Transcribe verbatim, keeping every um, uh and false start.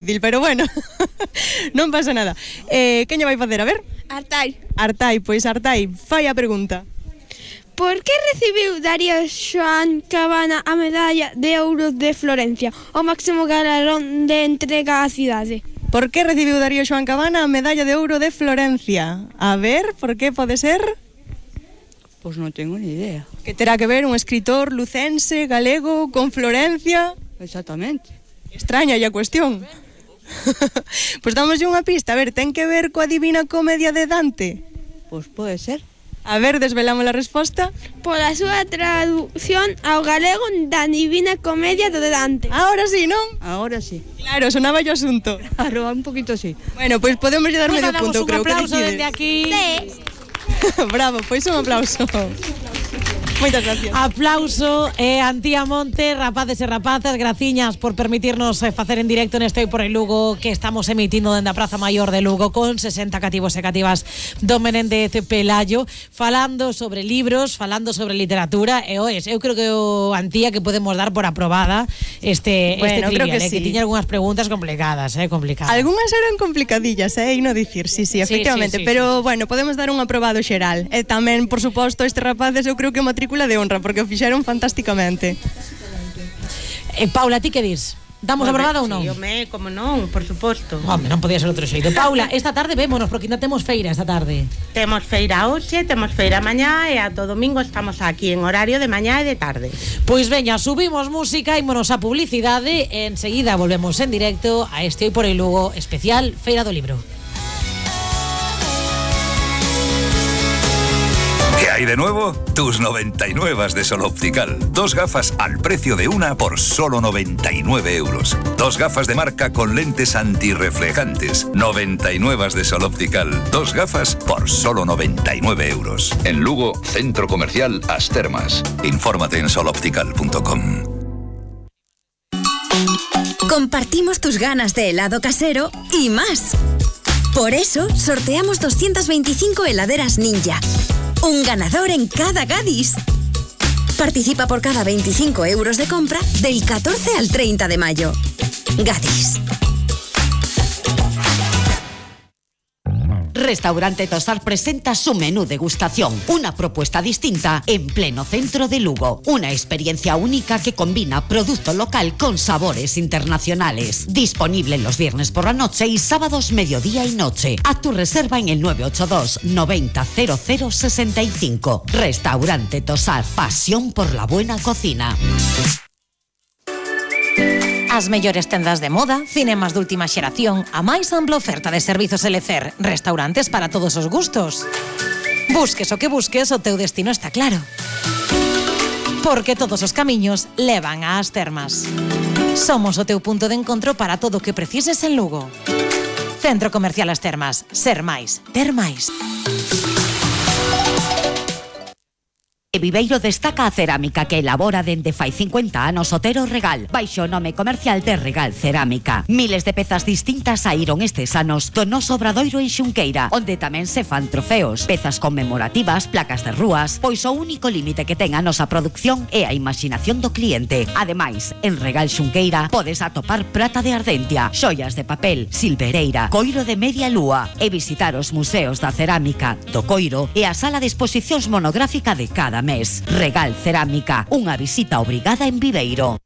Pero bueno, non pasa nada. Eh, quen lle vai facer, a ver? Artai. Artai, pois Artai, fai a pregunta. Por que recibiu Darío Xoán Cabana a medalla de ouro de Florencia, o máximo galardón de entrega á cidade? Por que recibiu Darío Xoán Cabana a medalla de ouro de Florencia? A ver, por que pode ser? Pois non tengo ni idea. Que terá que ver un escritor lucense, galego, con Florencia? Exactamente. Extraña a cuestión. Pois damoslle unha pista, a ver, ten que ver coa Divina Comedia de Dante? Pois pode ser. A ver, desvelamos a resposta. Pola súa traducción ao galego da Divina Comedia de Dante. Ahora sí, non? Ahora sí. Claro, sonaba o asunto. Claro, un poquito sí. Bueno, pois podemos lle dar Pues medio punto, creo que un aplauso decides. desde aquí. Sí. Bravo, pois un aplauso. Moitas gracias. Aplauso e eh, Antía Monte, rapaces e rapazas, graciñas por permitirnos eh, facer en directo neste Hoy por el Lugo que estamos emitindo dende a Praza Maior de Lugo con sesenta cativos e cativas do Menéndez Pelayo, falando sobre libros, falando sobre literatura e oes, eu creo que o Antía que podemos dar por aprobada este, Bueno, este trivial, creo que eh, sí. que tiña algunhas preguntas complicadas, eh, complicadas. Algúnas eran complicadillas, eh, e non dicir, sí, sí, efectivamente, sí, sí, pero sí. bueno, podemos dar un aprobado xeral. E tamén, por suposto, este rapaces eu creo que matrícula de honra, porque o fixeron fantásticamente. Eh, Paula, ti que dis? Damos aprobada ou non? Sí, home, como non, por suposto. Home, non podía ser outro xeito. Paula, esta tarde vémonos porque ainda temos feira esta tarde. Temos feira hoxe, temos feira mañá e ata o domingo estamos aquí en horario de mañá e de tarde. Pois veña, subimos música, ímonos a publicidade e enseguida volvemos en directo a este Hoy por el Lugo especial Feira do Libro. ¿Qué hay de nuevo? Tus noventa y nueve de Sol Optical. Dos gafas al precio de una por solo noventa y nueve euros. Dos gafas de marca con lentes antirreflejantes. noventa y nueve de Sol Optical. Dos gafas por solo noventa y nueve euros. En Lugo, Centro Comercial As Termas. Infórmate en sol optical punto com. Compartimos tus ganas de helado casero y más. Por eso sorteamos doscientas veinticinco heladeras Ninja. Un ganador en cada Gadis. Participa por cada veinticinco euros de compra del catorce al treinta de mayo. Gadis. Restaurante Tosar presenta su menú degustación, una propuesta distinta en pleno centro de Lugo. Una experiencia única que combina producto local con sabores internacionales. Disponible los viernes por la noche y sábados mediodía y noche. Haz tu reserva en el nueve ocho dos noventa cero cero sesenta y cinco. Restaurante Tosar, pasión por la buena cocina. As mellores tendas de moda, cinemas de última xeración, a máis ampla oferta de servizos L C E R, restaurantes para todos os gustos. Busques o que busques, o teu destino está claro. Porque todos os camiños levan ás Termas. Somos o teu punto de encontro para todo o que precises en Lugo. Centro Comercial As Termas. Ser máis, ter máis. E Viveiro destaca a cerámica que elabora dende fai cincuenta anos Otero Regal, baixo o nome comercial de Regal Cerámica. Miles de pezas distintas saíron estes anos do noso obradoiro en Xunqueira, onde tamén se fan trofeos, pezas conmemorativas, placas de rúas, pois o único límite que ten a nosa produción é a imaginación do cliente. Ademais, en Regal Xunqueira podes atopar prata de Ardentia, xoias de papel, silvereira, coiro de media lúa e visitar os museos da cerámica, do coiro e a sala de exposicións monográfica de cada mes. Regal Cerámica, unha visita obrigada en Viveiro.